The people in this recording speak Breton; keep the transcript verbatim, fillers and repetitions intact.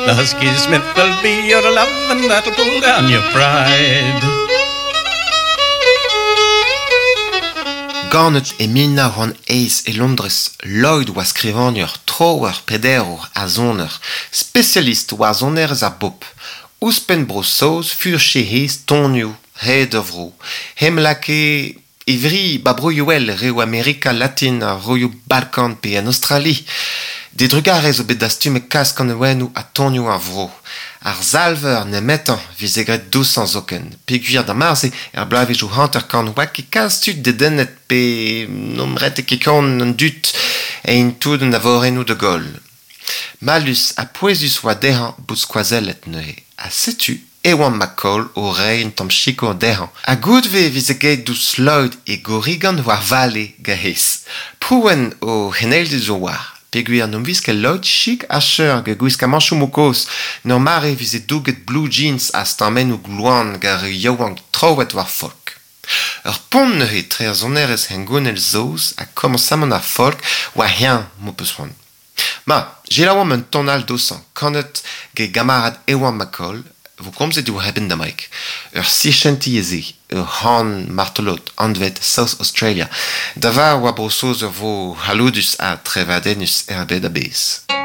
The Husky Smith will be your love, and that'll pull down your pride. Ganet e mil nav c'hant eizh e Londrez, Lloyd oa skrivagner, troer, prederour ha soner, spesialist war sonerezh ar bobl. Ouzhpenn Bro-Saoz furche he tonioù hed ar vro. Hem lakae e vri ba broioù all, reoù Amerika Latin, ar broioù Balkan pe en Australie. D'e drugarez zo bet dastumet kalz kanaouennoù ha tonioù ar vro. Ar salver nemetañ 'vize graet dousañ zoken. Peogwir d'ar mare-se er bloavezhioù hanter-kant oa ket kalz tud dedennet pe n'omp ret ket kont an dud ein tout an avorennoù da goll. Mallus ha pouezus oa dezhañ bout skoazellet neuze. Ha setu Ewan MacColl o reiñ un tamm sikour dezhañ. Ha goude e vize graet douzh Lloyd e Gorrigan war vale gant Prouenn o c'heneiled zo war. Peogwir n'omp ket Lloyd chik ha cheur gant gwiskamanchoù kozh. N'ur mare vize douget blue jeans ha stammennoù gloan gant ar yaouank troet war folk. Ur pont neuze etre ar sonerezh hengounel saoz ha komañsamant ar folk oa eñ m'ho peus c'hoant. Ma, selaouomp un ton all dousañ, kanet gant gamarad Ewan MacColl, vo komzet diwar e benn damaik. Ur sichentilh eo se, ur c'han martolod anvet South Australia. Da var oa Bro-Saoz ur vro c'halloudus ha trevadennus er bed a-bezh.